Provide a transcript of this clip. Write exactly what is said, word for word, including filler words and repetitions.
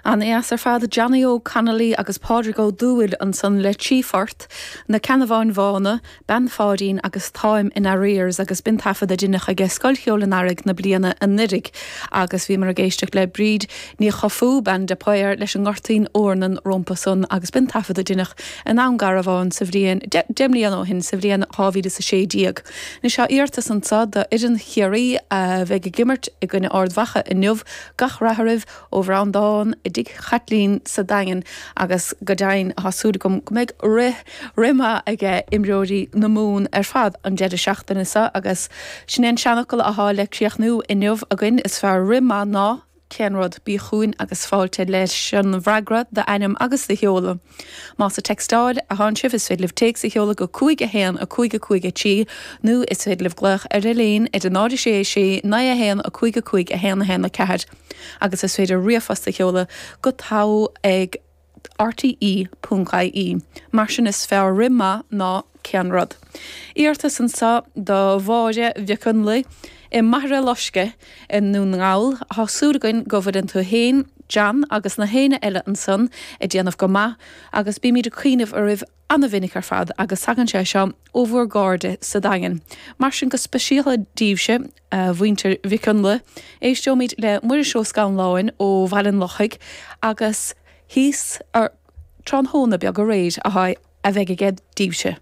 An-deas ar fad Johnny Óg Connolly agus Pádraig Ó Dúill ansan le trí phort, Na Ceannabháin Bhána, Bean Pháidín agus Táim in Arrears agus b'in taifead a deineadh aige Scoil Cheoil an Earraigh na bliana anuraidh agus bhíomar ag éisteacht le Bríd Ní Chofaigh, bean de Paor leis an nGoirtín Eornan rompu san agus b'in taifead a deineadh i nDún Garbhán sa bhliain deich mbliana ó shin sa bhliain dhá mhíle is a sé déag. Anois tá iarratas anseo do fhoireann Chiarraí a bheidh ag imirt i gcoinne Ard Mhacha inniu gach rath oraibh ó Bhreandán i dTigh Chaitlín sa Daingean agus go deimhin tá súil agam go mbeidh rith rith maith aige imreoirí na Mumhan ar fad an deireadh seachtaine seo agus sin é an seanfhocal atá le críochnú inniu againn is fearr rith maith ná cén rud bí chugainn agus fáilte leis an bhfreagra d'ainm agus do sheoladh. Más ag textáil atá sibh is féidir libh téacs a sheoladh go cúig a haon a cúig a cúig a trí nó is féidir libh glaoch ar an líne ar a náid sé sé naoi a haon a cúig a cúig a haon a haon a ceathair agus is féidir ríomhphost a sheoladh go togha ag RTE.ie. Mar sin is fearr rith maith ná cén rud. Iarratas anseo do Mháire Mhic Fhionnlaigh i Machaire Loisce i nDún na nGall tá súil againn go bhfuileann tú féin, John agus na héinne eile ansan ag déanamh go maith agus bímid ag cuimhneamh oraibh an-mhinic ar fad agus tagann sé seo ó bhur gcairde sa Daingean. Mar sin go speisialta daoibhse a mhuintir Mhic Fhionnlaigh, éisteoimid le Muiris Ó Scanláin ó Bhaile an Lochaigh agus thíos ar tráthnóna beag aréir a a bheidh aige daoibhse.